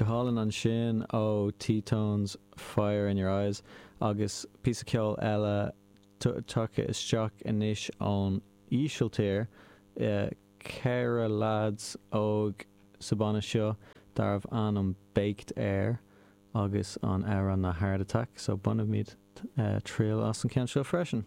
Go hálainn ansin ó T-Tones, Fire in Your Eyes agus píosa ceoil eile tagtha isteach anois ón Ísiltír, 4 leaids óg sa banna seo darbh ainm Baked Air agus an amhrán ná Heart Attack so bainfimid triail as an ceann seo freisin.